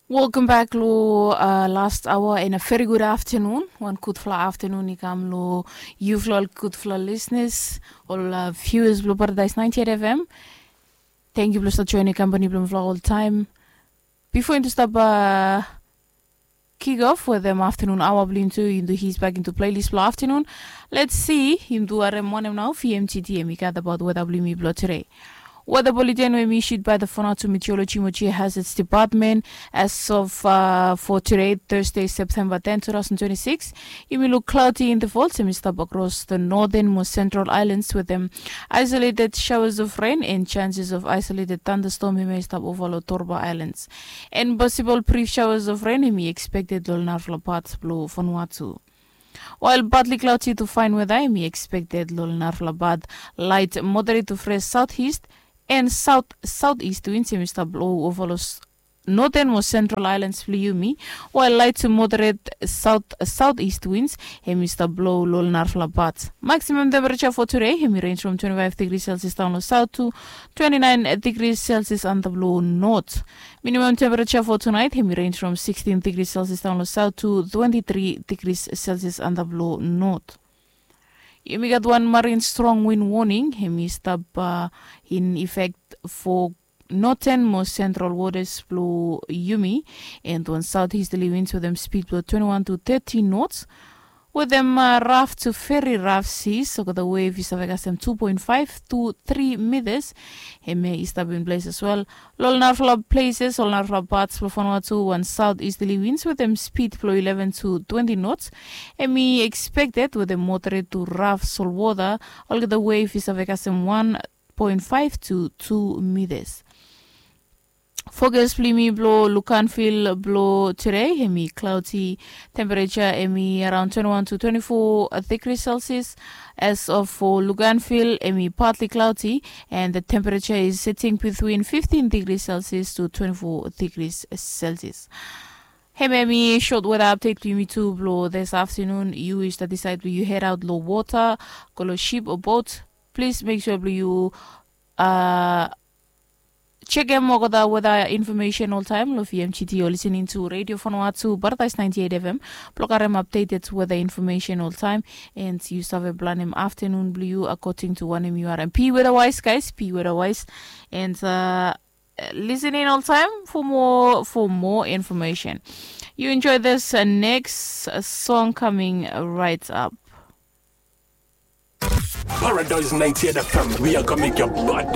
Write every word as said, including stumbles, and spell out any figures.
Welcome back lo uh, last hour and a very good afternoon. Wan gudfala afternoon i kam lo yufala ol gudfala listeners, ol uh, viewers blo Paradise ninety-eight F M. Thank you blo stap joining company blo mifala all time. Before into stop uh, kick off with them afternoon hour blo into into his back into playlist blo afternoon. Let's see into arem one now V M T T M. Got about weather blo me blo today. Weather bulletin were issued by the Fonatu Meteorology Mochi Hazards Department as of uh, for today, Thursday, September tenth, two thousand twenty-six. It will look cloudy in the fall, semi stop across the northern most central islands with them isolated showers of rain and chances of isolated thunderstorm may stop over Lotorba Islands. And possible brief showers of rain may expected lo narfala parts blo Vanuatu. While partly cloudy to fine weather, mi expected lo narfala bad light moderate to fresh southeast and south southeast winds mi stap blow over los northern mo central islands blo yumi, while light to moderate south southeast winds hemi stap blow lo narfala bad. Maximum temperature for today hemi range from twenty-five degrees Celsius down lo south to twenty-nine degrees Celsius under blow north. Minimum temperature for tonight hemi range from sixteen degrees Celsius down lo south to twenty-three degrees Celsius under blow north. Yumi gat wan marine strong wind warning hemi stap uh, in effect for northern mo central waters blo yumi, and wan southeasterly winds with them speed blo twenty-one to thirty knots. With them uh, rough to very rough seas, so the wave is of kasem two point five to three meters. Hemi is stap in place as well. Lo narfala places, lo narfala parts blo Vanuatu, wan southeasterly winds with them speed blo eleven to twenty knots. Hemi expected with a moderate to rough sol water. Olgeta wave is of kasem one point five to two meters. Forecast blo yumi blo Luganville blo today hemi cloudy. Temperature hemi around twenty-one to twenty-four degrees Celsius. As of for Luganville hemi partly cloudy and the temperature is sitting between fifteen degrees Celsius to twenty-four degrees Celsius. Hemi hemi short weather update blo yumi tu blo this afternoon. Yu is the decide blo yu head out lo water, go lo ship or boat. Please make sure blo yu uh, check em olgeta weather information all time lo V M G T. You're listening to Radio Vanuatu, Paradise ninety-eight F M. Blo karem updated weather information all time. And yu save plan em afternoon blo yu according to wanem yu are. Be weather wise, guys. Be weather wise. And uh, listen in all time for more for more information. You enjoy this uh, next uh, song coming right up. Paradise ninety-eight F M, we are gonna make your body